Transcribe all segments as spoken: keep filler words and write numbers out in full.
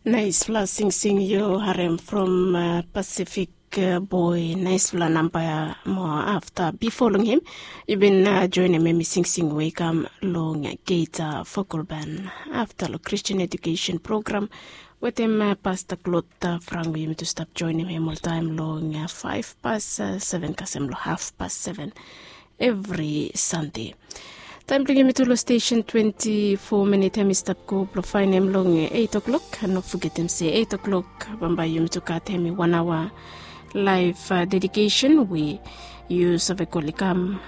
Naispela singsing yu harem from Pacific Boy, naispela namba ya. Mo afta bifo long hem yu bin joinim hem i singsing we i kam long Geta Focal Band. Afta long Christian Education Program wetem Pasta Klot Frank we yumi tu stap joinim hem oltaem long faef pas seven kasem long haf pas seven evri Sande. Taem blong yumi tu long stesen twenti fo minit hem i stap go blong faenem long eit oklok. No fogetem se eit oklok bambae yumi tu gat hem i wan aoa laef dedikesen we yu save kol i kam.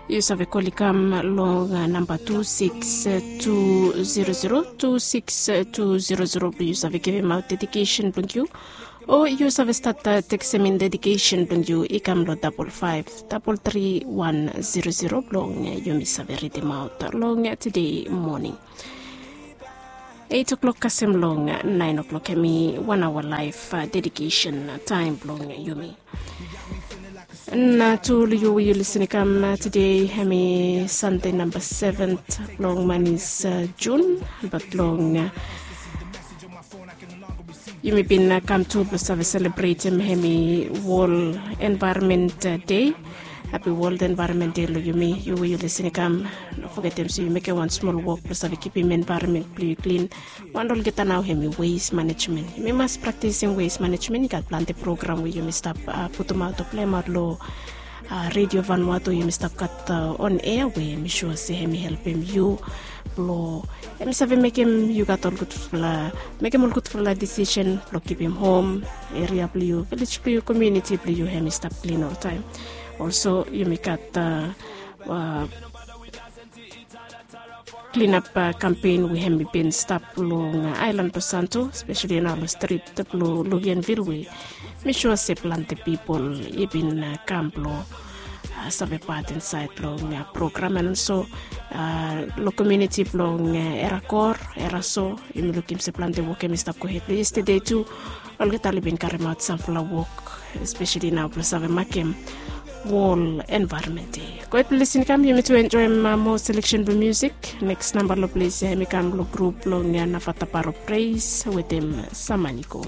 Yu save kol i kam long namba tu siks tu zero zero tu siks tu zero zero blong yu save givimaot dedikesen blong yu. O yu save stat teksem in dedikesen blong yu i kam long dabol faef dabol tri wan zero zero blong yumi save ridimaot long tede moning. Eit oklok kasem long naen oklok hem i wan aoa laef dedikesen taem blong yumi. Na tu long yu we yu lisin i kam tede hem i Sande namba seven blong manis Jun. Bat long yumi bin kam tu blong save selebretem hem i Wol Envaeronmen Dei. Hapi Wol Envaeronmen Dei long yumi. Yu we yu lisin i kam, no fogetem se yu mekem wan smol wok blong save kipim envaeronmen blong yu klin. Wan olgeta nao hem i wes manejmen. Yumi mas praktisim wes manejmen. I gat plante program we yumi stap putumaot o plemaot long redio Vanuatu yumi stap gat on ea we mi sua se hem i helpem yu blong hem i save mekem yu gat ol gudfala, mekem ol gudfala disisen blong kipim hom, eria blong yu, vilej blong yu, komuniti blong yu hem i stap klin oltaem. Olso yumi gat klinap kampen we hem i bin stap long aelan blong Santo, spesali nao long strit blong Lugenvil we mi sua se plante pipol i bin kam blong save pat insaed long program. An olso long komuniti blong Erakor, Eraso, yumi lukim se plante wok hem i stap gohed long yestede tu. Olgeta oli bin karimaot samfala wok, espesali nao blong save makem Wol Envaeronmen Dei. Gohed blong lisin i kam, yumi tu enjoem moa seleksen blong musik. Neks namba long ples ya hem i kam long grup blong Nafata Baro Pres wetem Samaniko.